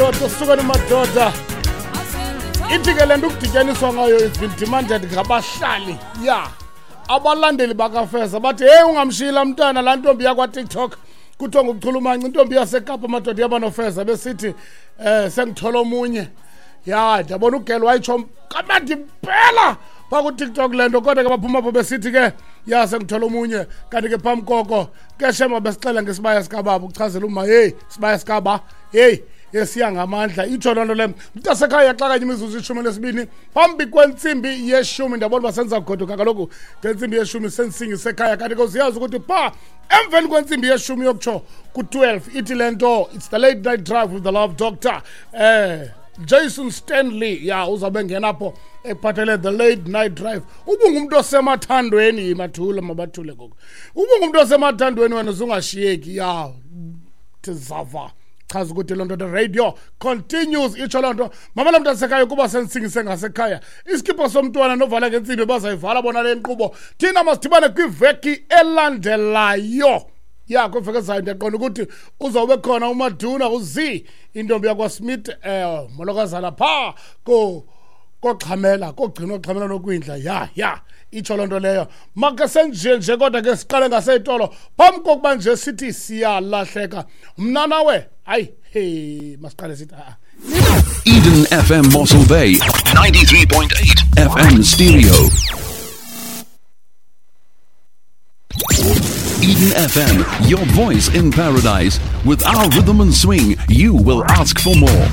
Madoda, sukani madoda. Ithi ke le nto ukudityaniswa ngayo it's been demanded ngabahlali. Ya, abalandeli bakaFeza bathi heyi, ungamshiyi laa mntana, laa ntombi yakwaTikTok kuthiwa ngukuchulumanca, intombi yaseKapa madoda yabanofeza, besithi sengithola omunye. Ya, ndiyabona ugel wayitsho kamnandi impela phaa kuTikTok le nto, kodwa ke baphuma apho besithi ke ya, sengithola omunye. Kanti ke phambi koko ke shema besixela ngesibaya sikababa, ukuchazela uma heyi, sibaya sikaba heyi, esiya ngamandla. Itsho loo nto le, mntasekhaya, yaxakanye imizuzu 12 phambi kwentsimbi yeshumi. Ndiyabona uba senza goduka kaloku ngentsimbi yeshumi, sendisingisekhaya. Kanti ke uziyazi ukuthi phaa emveni kwentsimbi yeshumi yokutsho ku-12, ithi le nto it's the late night drive with the Love Doctor, Jason Stanley. Ya, uzawube ngena apho ekuphathele the late night drive. Ubungumntu osemathandweni, mathule, mabathule ngoku. Ubungumntu osemathandweni wena, uzungashiyeki. Ya, tizava chaza ukuthi loo nto the radio continues. Itsho loo nto, mamela mntasekhaya, kuba sendisingise ngasekhaya isikipha somntwana novala ngentsimbi, bazayivala bona le nkqubo. Thina masidibane kwiveki elandelayo. Ya, kwiveki ezayo ndiyaqonda ukuthi uzawube khona uMaduna uZ, intombi yakwaSmith, molokazana phaa ko koxhamela kogcina oxhamela nokwindla. Ya, itsho loo nto leyo. Make senje nje, kodwa ke siqale ngaseyitolo phambi kokuba nje sithi siyalahleka. Mna nawe, hayi, hey, masiqale sithi a Eden FM Mossel Bay, 93.8 FM stereo. Eden FM, your voice in paradise. With our rhythm and swing, you will ask for more.